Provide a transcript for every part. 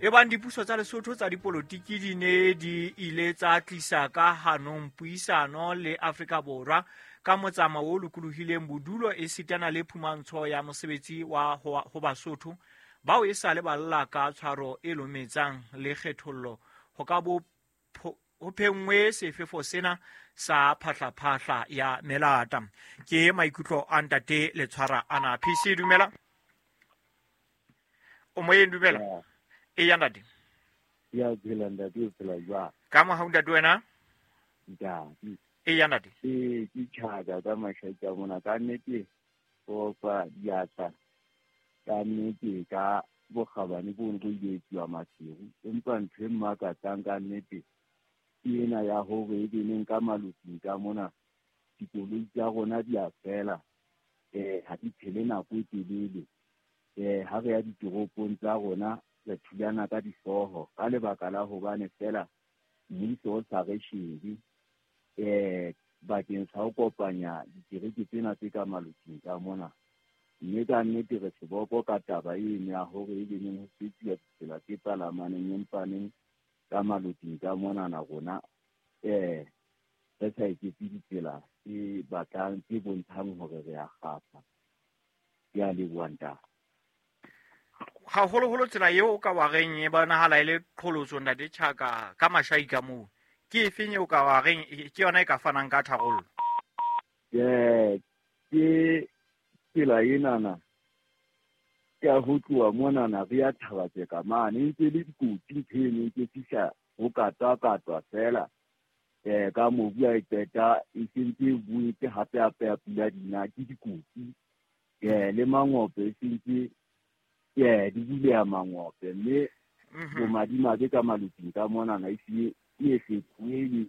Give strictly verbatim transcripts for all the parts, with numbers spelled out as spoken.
Ebang dipuso tsa Lesotho tsa dipolotiki di ne di ile tsa tlisa ka hanong puisano le Afrika Borwa ka motsamao o lokolohileng bodulo esitana le phumantsho ya mosebetsi wa ho Basotho bao e sa le ba lla ka tshwaro e lometsang le kgethollo ho ka bo ho phengwe sefefo sena sa phahlaphahla ya melata. Ke maikutlo a ntate Letshwara ana. P C dumela. O moyeng dumela. E ya ntate. Ya phela ntate, o phela jwang? Ka mohau ntate wena? Ntate. E ya ntate. E ke tjhaka ka mashaika mona ka nnete o fa diatla ka nnete ka bokgabane bo bo ile etsuwa Maseru, empa ntho e mmakatsang ka nnete ke ena ya hore e beneng ka maloting ka mona dikoloi tsa rona di a fela, eh ha di phele nako e telele, eh ha re ya ditoropong tsa rona re thulana ka dihlooho ka lebaka la hobane fela mmuso o sa re shebe eh bakeng sa ho kopanya dikereke tsena tse ka maloting ka mona. Mme ka nnete re seboko ka taba eno ya hore e beneng ho fetuwa ditsela tse palamaneng empaneng ka maloting ka monana rona eh re sa eketse ditsela tse batlang tse bontshang hore re a kgapha. Ke a leboha ntate. Haholoholo tsela eo o ka wa reng e bonahala e le qholotso ntate Tjhaka ka mashai ka moo, ke efeng eo ka wa reng ke yona e ka fanang ka tharollo? Eh ke tsela enana ya ho tloha monana re ya Thabatseka mane, e ntse le dikotsi ntho eno e ntse fihla ho katwa-katwa fela eh ka mobu a e qeta e sentse e boetse hape hape ya pula dina ke dikotsi eh le mangope e sentse eh di buleha mangope, mme bomadimabe ka maloting ka monana e se e fetohile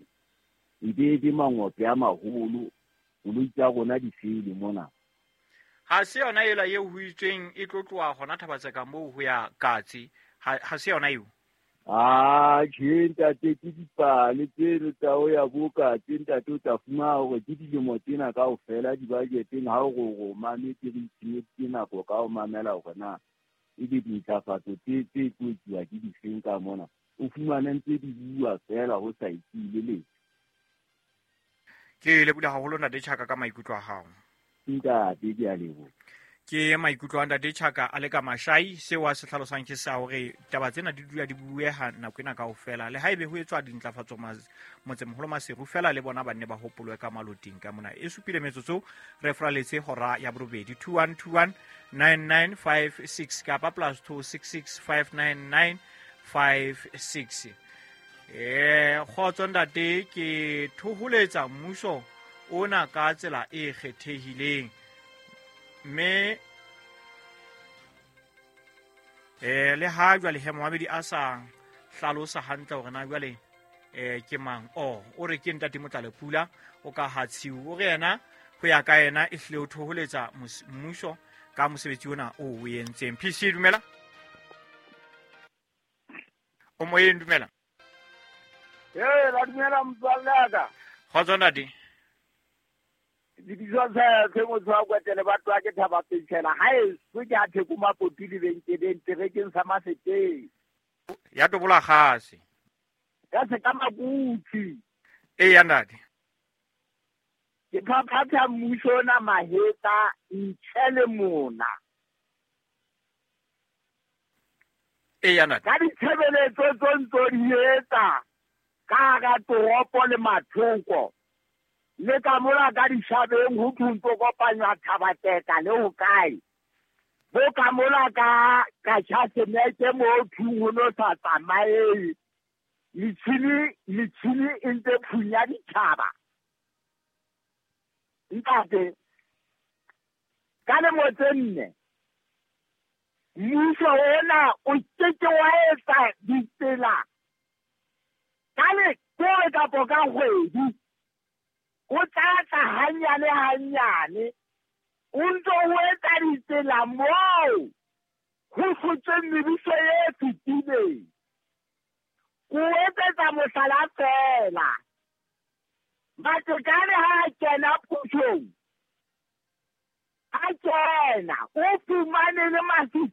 e be be mangope a maholo, koloi tsa rona di fele mona. Ha se yona ela eo ho itsweng e tlo tloha hona Thabatseka moo ho ya Katse, ha se yona eo? Ah, tjhe ntate, ke dipale tseno tsa ho ya bo Katse ntate, o tla fumana hore ke dilemo tsena kaofela di-budget-eng ha o re o mametse re itshenyeditse nako ka ho mamela hore na ebe dintlafatso tse tse tlo etsuwa ke difeng ka mona, o fumane ntse di bua fela ho sa etsuwe letho. Ke leboha haholo ntate Tjhaka ka maikutlo a hao. Ntate, ke a leboha. Ke maikutlo a ntate Tjhaka a le ka mashai, seo a se hlalosang ke sa hore taba tsena di dula di bueha nako ena kaofela, le haebe ho etswa dintlafatso motsemoholo Maseru fela le bona ba nne ba hopolwe ka maloting ka mona. E supile metsotso re fraletse hora ya borobedi. Two one two one nine nine five six kapa plus two six six five nine nine five six. Eh kgotso ntate, ke thoholetsa mmuso ona ka tsela e kgethehileng mme eh le ha jwale he Mohamedi a sa hlalosa hantle hore na jwale eh ke mang. O o re ke ntate Motlalepula o ka ha tshiu, o re yena ho ya ka yena e hlile o thoholetsa mmuso ka mosebetsi ona o o entseng. P C dumela. O moyeng dumela. Eh la dumela motswalle wa ka. Kgotso ntate. Lebitso sa ke motho wa Kwetele ba tloha ke Thaba Pentshela ha eso ke a Theko Mapoti lebenkeleng terekeng sa Maseteng. Ya tobola kgase. Ya se ka Makuti. E ya ntate. Ke phaphatha mmuso ona mahetla ntle le mona. E ya ntate. Ka ditshebeletso tso ntso di etsa ka hara toropo le mathoko. Le ka mola ka dishabeng ho thuntso kopanywa Thabatseka le ho kae. Bo ka mola ka ka tjhasemete mo thung ho no sa tsamaye. Metjhini metjhini e ntse phunya ditjhaba. Ntate, ka lemo tse nne mmuso ona o keke wa etsa ditsela ka lekore kapo ka kgwedi. O tla tla hanyane hanyane o ntso o etsa ditsela moo ho hlotsweng mebuso e fetileng. O etsetsa mohlala feela. Matekane ha a kena pusong, a kena o fumane le